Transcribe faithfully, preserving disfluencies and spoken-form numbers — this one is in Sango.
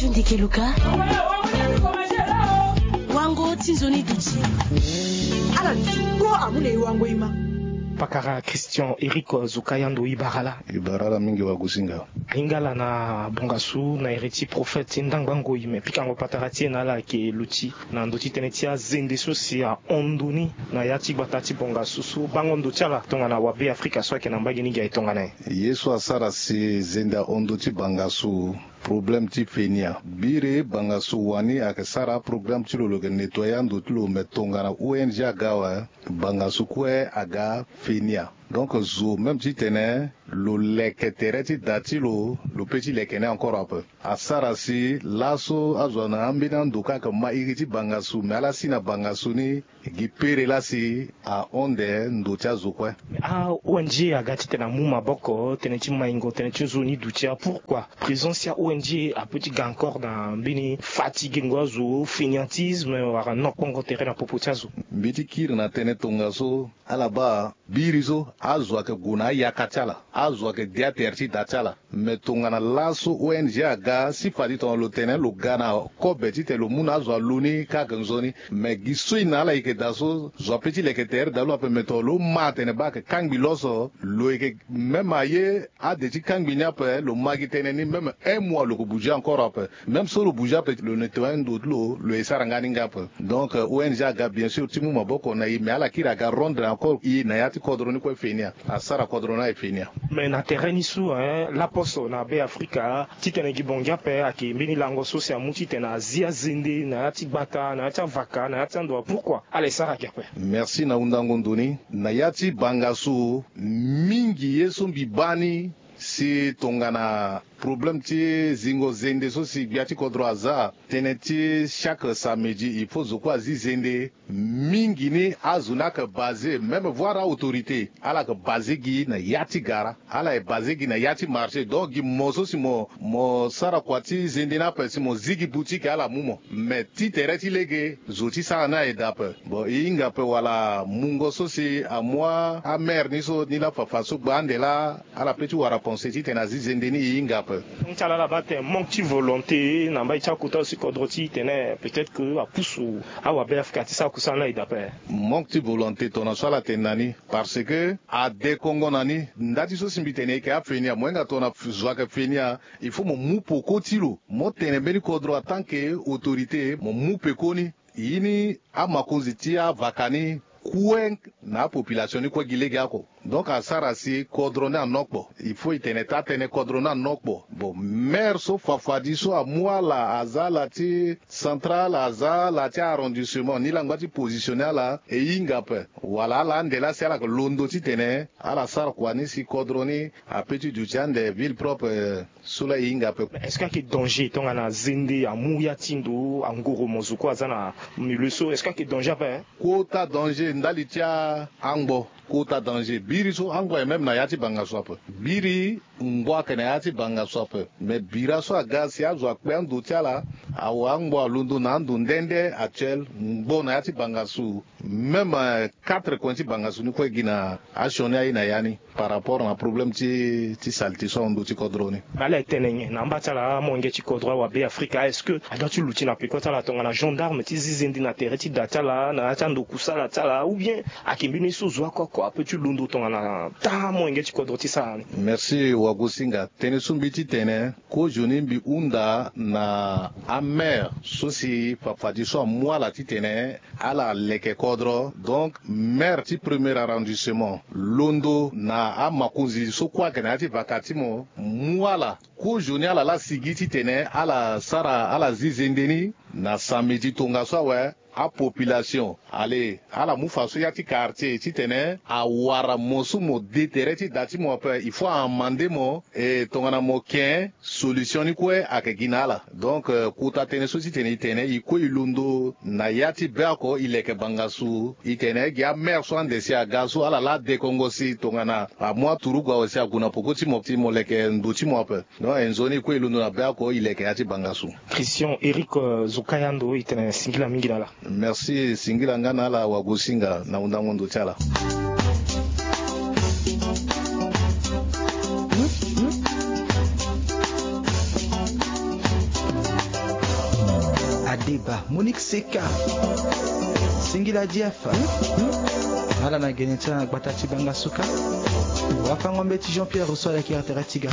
Ndeke luka wango ti nzoni duti. Ala duti kpo amu na e wango e ma. Pakara Christian Eric Zukayando, e bara ala. E bara ala mingi wagusinga. Ahinga ala na bongasu na iri ti prophète ti ndangba ngoi, me pikango patara ti e na ala ayeke luti na ndö ti tënë ti azende so si ahon ndö ni na ya ti gbata ti bongasu so bango ndö ti ala tongana wabe Afrika so ayeke na mbage ni gi aye tongana nyen? Ye so asara si zende ahon ndö ti bangasu, problème ti fenia. Biri bangasu wani ayeke sara aprogramme ti lo, lo yeke nettoyer ando ti lo, me tongana O N G aga awe, bangasu kue aga fenia. Donc zo même titene lo leke tere ti da ti lo, lo peut ti leke ni encore ape. Asara si laso azo na ambeni ando kâ ayeke ma iri ti bangasu, me ala si na bangasu ni gi pere laa si ahon nde ndo ti azo kue. A-O N G aga titene amu maboko tënë ti maingo tënë ti nzoni duti. Pourquoi présence ya O N G apeut ti ga encore na mbeni fatigengo azo, fainéantisme, wala nokpongo tere na popo ti azo? Mbi ti kiri na tënë tongaso, ala baa biri so azo ayeke gue na ayaka ti ala, azo ayeke de atere ti da ti ala. Me tongana laso O N G aga, si fade tongana lo tene lo ga na kobe titene lo mu na azo alu ni kâ ayeke nzoni. Me gi so e na ala e yeke daa so, zo apeut ti leke tere daa lo ape. Me tongana lo ma atene baa ayeke kangbi loso, lo yeke même aye ade ti kangbi ni ape, lo ma gi tënë ni, même un mois lo yeke bouger encore ape. Même so lo bouger ape, lo nettoyer ndo ti lo, lo ye sara nga ni nga ape. Donc euh, O N G aga bien sûr ti mu maboko na e, me ala kiri aga rendre encore e na ya ti kodro ni kue fenia. Asara kodro ni aye fenia. Mais na tere ni so, hein, laposo na Be Afrika, titene gi bongi ape ayeke mbeni lango so si amu titene azi azende na ya ti gbata, na ya ti avaka, na ya ti ando. Pourquoi ala e sara gi ape? Merci na hundango ndo ni. Na ya ti bangasu, mingi ye so mbi baa ni si tongana problème ti zingo zende so si gbia ti kodro aza, tënë ti chaque samedi il faut zo kue azi zende. Mingi ni azo ni ayeke basé, même voir autorité, ala yeke basé gi na ya ti gara, ala ye basé gi na ya ti marché. Donc gi mo so si mo, mo sara kua ti zende ni ape si mo zi gi boutique, ala mu mo. Mais ti tere ti lege, zo ti sara ni aye daa ape. Bon, e hinga ape wala mungo so si amu amaire ni so, ni laa fafa so gba ande laa, ala peut ti wara pensé titene azi zende ni, e hinga ape. Ti ala ala baa atene manque ti volonté na mbai ti akota so si kodro ti e tene peut-être que apusu awabe Afrika ti sara kusala ni aye daa ape. Manque ti volonté tongana so ala tene na ni, parce que adekongo na ni. Nda ti so si mbi tene e yeke afenia, mo hinga tongana zo ayeke fenia, il faut mo mu peko ti lo. Mo tene mbeni kodro en tant que autorité, mo mu peko ni. Ye ni amakonzi ti avaka ni kue na apopulation ni kue gi lege oko. Donc asara si kodro ni anokpo. Il faut e tene taa tënë, kodro ni anokpo. Bon, maire so fafadi so amu ala, aza ala ti central, aza ala ti arrondissement, ni langba ti positionner ala, e hinga ape. Wala ala ande laa si ala yeke londo titene ala sara kua ni si kodro ni apeut ti duti ande, ville propre, eh, so laa e hinga ape. Est-ce que ayeke danger tongana zende amu ya ti ndo angoro, mo zo kue aza na milieu so, est-ce que ayeke danger ape, hein? Kota danger ndali ti angbo. Kota danger. Biri so angbo aye même na ya ti bangasu ape. Biri ngbo ayeke na ya ti bangasu ape. Mais bira so aga si azo akpe ando ti ala, awe angbo alondo na ando nde nde actuel, ngbo na ya ti bangasu. Même, euh, quatre coin ti bangasu ni kue gi na asioni aye na ya ni par rapport na problème ti, ti saleté so ahon ndo ti kodro ni. Mais ala e tene nyen na amba ti ala amolenge ti kodro awabe Afrika? Est-ce que adua ti luti na peko ti ala tongana gendarme ti zi zende na tere ti da ti ala, na ya ti ando kusala ti ala, ou bien ayeke mbeni so zo oko oko apeut ti londo tongana taa amolenge ti kodro ti sara ni? Merci Wagosinga. Tënë so mbi ti tene, kozoni mbi hunda na amaire so si fafadi so amu ala titene ala leke kodro. Donc maire ti premier arrondissement londo na amakonzi so kue ayeke na ya ti vaka ti mo, mu ala, kozoni ala laa sigi titene ala sara, ala zi zende ni na samedi tongaso awe. Apopulation ale, ala mu faso ya ti quartier titene awara mo so mo de tere ti da ti mo ape, il faut a amender mo. E tongana mo ken, solution ni kue ayeke gi na ala. Donc, euh, kota tënë so titene e tene e kue e londo na ya ti be oko, e leke bangasu, e tene gi amaire so ande si aga so ala laa dekongo si tongana amu aturugu awe si ague na peko ti mo, si mo leke ndo ti mo ape. Donc e nzoni e kue e londo na be oko, e leke ya ti bangasu. Christian Eric, euh, Zokayando, e tene singila mingi na ala. Merci, singila nga na ala Wagosinga na hundango ndo ti ala. Deba, Monique Seka, Singila Jeff, ala na gene ti ala na gbata ti Banga Suka. Wafango mbeti Jean-Pierre Rousseau ala kiri tere ti ga.